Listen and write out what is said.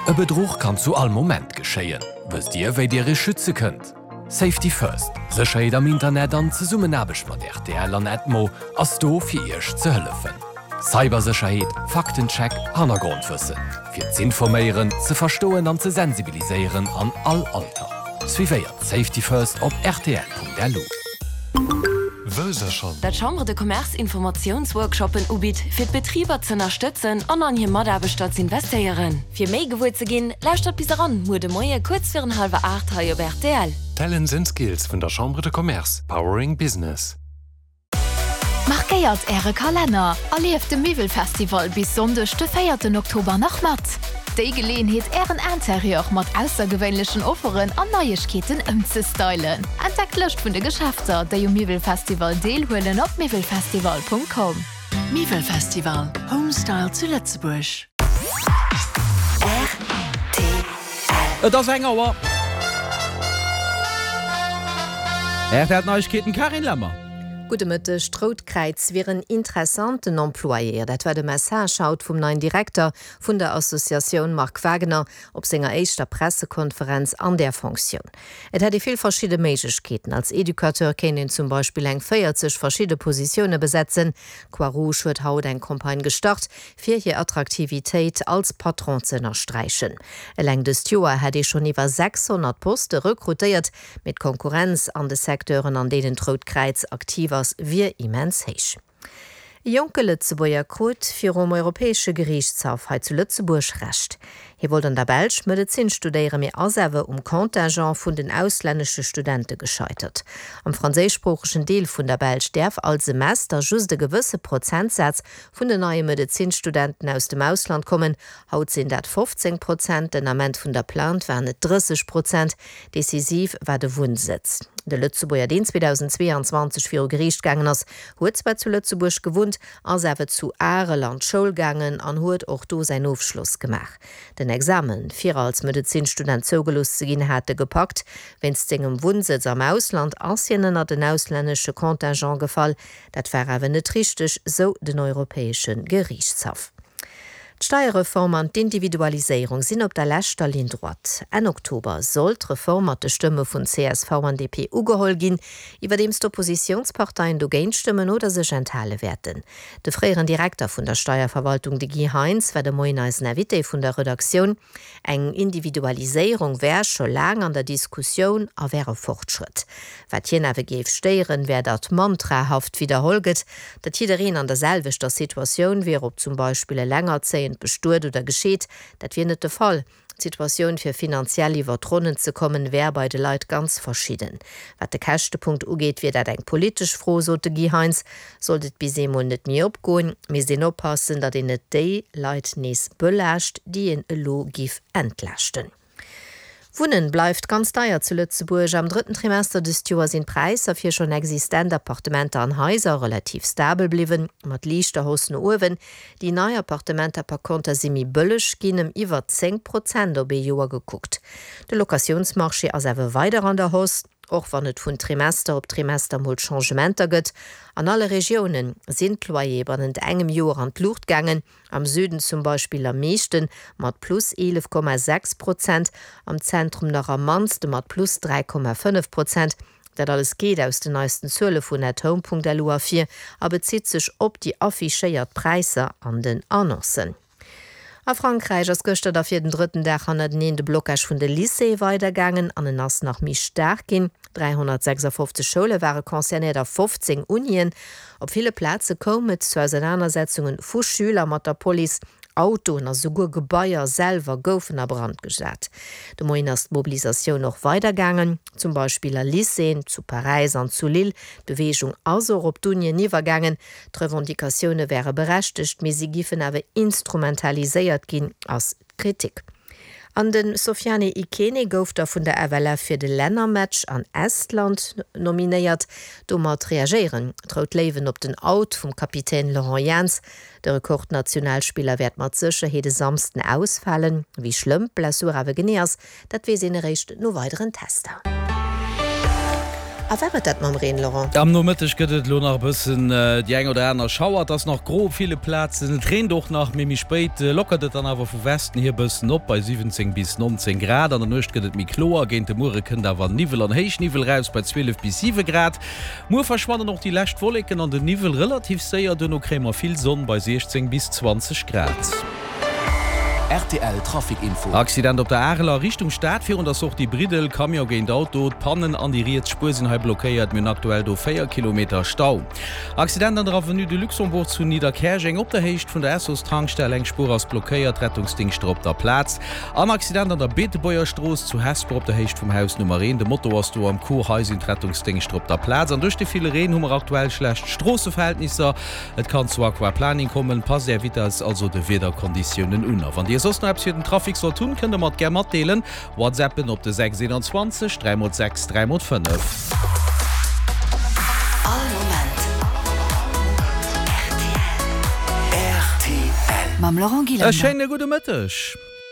E Bedruch kann zu all Moment geschéien. Wësst Dir, wéi Dir Iech schütze kënnt? Safety First, Sécherheet am Internet an Zesummenaarbecht mat rtl an Edmo ass do fir Iech ze hëllefen. Cybersécherheet, Faktencheck, Hannergrondwëssen. Fir z'informéieren, ze verstoen an ze sensibiliséieren an all Alter. Suivéiert Safety First op rtl.lu. Wësst der schonn? Dat d'Chambre de Commerce Informatiounsworkshoppen ubitt, fir d'Betriber z'ënnerstëtzen an an hir Mataarbechter z'investéieren. Fir méi gewuer ze ginn, lauschtert bis eran muer de Moie kuerz virun hallwer 8 hei op rtl. Talents and Skills vun der Chambre de Commerce, powering business. Markéiert Äre Kalenner! Erlieft de Miwwelfestival bis Sonndeg de véierten Oktober nach mat! Déi Geleeënheet Ären Interieur mat aussergewéinlechen Offeren an Neiegkeeten ëmzestylen. Entdeckt d'Lëscht vun de Geschäfter, déi um Miwwelfestival deelhuelen op miwwelfestival.com. Miwwelfestival, Home Style zu Lëtzebuerg. Rtl. Et ass eng Auer. RTL Neiegkeeten, Carine Lemmer. Gudde Mëtteg. D'Rout Kräiz wier en interessanten Employeur. Dat war de Message haut vum neien Direkter vun der Associatioun Marc Wagener op senger éischter Pressekonferenz an där Fonctioun. Et hätt ee vill verschidde Méiglechkeeten. Als Educateur kéint een zum Beispill eng 40 verschidde Positioune besetzen. D'Croix-Rouge huet haut eng Campagne gestart, fir hir Attraktivitéit als Patron ze ënnersträichen. Eleng dëst Joer hätt ee schonn iwwer 600 Poste rekrutéiert, mee d'Konkurrenz an de Secteuren, an deenen d'Rout Kräiz aktiv ass, wier immens héich. E jonke Lëtzebuerger krut virum Europäesche Geriichtshaff hei zu Lëtzebuerg Recht. Hie wollt an der Belsch Medezin studéieren, mee ass awer um Contingent vun den auslännesche Studente gescheitert. Am franséischsproochegen Deel vun der Belsch däerf all Semester just e gewësse Prozentsaz vun den neie Medezinstudenten aus dem Ausland kommen. Haut sinn dat 15 Prozent, den Ament vun der Plainte waren et 30 Prozent. Decisiv war de Wunnsëtz. De Lëtzebuerger, deen 2022 viru Geriicht gaangen ass, huet zwar zu Lëtzebuerg gewunnt, ass awer zu Arel an d'Schoul gaangen an huet och do säin Ofschloss gemaach. Den Examen, fir als Medezinstudent zougelooss ze ginn, hat e gepackt. Wéinst sengem Wunnsëtz am Ausland ass hien ënnert en auslännesche Contingent gefall. Dat war awer net richteg, sou den Europäesche Geriichtshaff. D'Steierreform an d'Individualiséierung sinn op der leschter Ligne droite. Enn Oktober soll d'Reform mat de Stëmme vun csv an DP ugeholl ginn, iwwerdeems d'Oppositiounsparteien dogéint stëmmen oder sech enthale wäerten. De fréieren Direkter vun der Steierverwaltung, de Guy Heintz, war de Moien eisen Invité vun der Redaktioun. Eng Individualiséierung wär scho laang an der Diskussioun a wär e Fortschrëtt. Wat hien awer géif stéieren, wär, datt mantrahaft widderholl gëtt, datt jiddereen an der selwechter Situatioun wier, ob zum Beispill elengerzéiend, bestuet oder gescheet. Dat wier net de Fall. D'Situatioun, fir finanziell iwwer d'Ronnen ze kommen, wär bei de Leit ganz verschidden. Wat de Käschtepunkt ugeet, wier dat eng politesch Fro, sot de Guy Heintz. Sollt et bis eemol net méi opgoen, misst een oppassen, datt een net déi Leit nees belaascht, déi een elo giff entlaaschten. Wunnen bleift ganz deier zu Lëtzebuerg. Am drëtten Trimester dëst Joer sinn d'Präisser fir schonn existent Appartementer an Haiser relativ stabel bliwwen, mat liichter Hausse no uewen. Déi nei Appartementer par konter si méi bëlleg ginn, ëm iwwer 10 Prozent op ee Joer gekuckt. De Locatiounsmarché ass awer weider an der Hausse. Och wann et vun Trimester op Trimester mol Changementer gëtt, an alle Regioune sinn d'Loyere bannent engem Joer an d'Luucht gaangen, am Süden zum Beispill am meeschten, mat plus 11,6 Prozent, am Zentrum nach am mannste mat plus 3,5 Prozent. Dat alles geet aus den neisten Zuele vun Athome.lu ervir a bezitt sech op déi affichéiert Präisser an den Annoncen. A Frankräich ass gëschter da fir den drëtten Dag hannerteneen de Blocage vun de Lycéeë weidergaangen an en ass nach méi staark ginn. 356 Schoule ware concernéiert a 15 Unien. Op ville Plaze koum et zu Ausenanersetzunge vu Schüler mat der Police. Autoen a souguer Gebaier selwer goufen a Brand gesat. De Moien ass d'Mobilisatioun och weidergaangen, zum Beispill a Lycéeën zu Paräis an zu Lille. D'Beweegung ass och op d'Unien iwwergaangen. D'Revendicatioune wäre berechtegt, mee si giffen awer instrumentaliséiert ginn, ass d'Kritik. An de Sofiane Ikene gouf da vun der FLF fir de Lännermatch an Estland nominéiert. Domat reagéieren d'Rout Léiwen op den Out vum Kapitän Laurent Jans. De Rekordnationalspiller wäert mat Sécherheet e Samsden ausfalen. Wéi schlëmm d'Blessur awer genee ass, Dat weess een eréischt no weideren Tester. A war et dat mam Reen, Laurent? Am Nomëtteg gëtt et elo nach e bëssen déi eng oder aner Schauer. Et ass nach gro op ville Plazen, et reent och nach, mee méi spéit lockert et dann awer vu Westen hier e bëssen op bei 17 bis 19 Grad. An der Nuecht gëtt et méi kloer, géint de Muere kënnt awer Niwwel an Héichniwwel raus bei 12 bis 7 Grad. Muer verschwannen och déi lescht Wolleken an den Niwwel relativ séier, duerno kréie mer vill Sonn bei 16 bis 20 Grad. Rtl Trafic Info. Accident op der Arel a Richtung Stad virun der Sortie Briddel, Camion géint Auto, d'Pannen an déi riets Spuer sinn hei blockéiert, mir hunn aktuell do 4 Kilometer Stau. Accident an der Avenue de Luxembourg zu Nidderkäerjeng op der Héicht vun der Essos Tankstell, eng Spuer ass blockéiert, Rettungsdingschter op der Plaz. An Accident an der Beetebuerger Strooss zu Hesper op der Héicht vum Haus Nummer 1. De Moto ass do am Coup. Hei sinn d'Rettungsdéngschter op der Plaz. An duerch de ville Reen hu mer aktuell schlecht Stroosseverhältnisser. Et kann zu Aquaplaning kommen. Passt Är Vitess also de Wiederkonditiounen un. A wann Dir soss nach eppes fir den Trafic sollt hunn, kënnt der mer et gär matdeelen. WhatsAppen op de 6 21 3 x 6 3 x 5. All Moment rtl. Mam Laurent E Gillander. schéine gudde Mëtteg.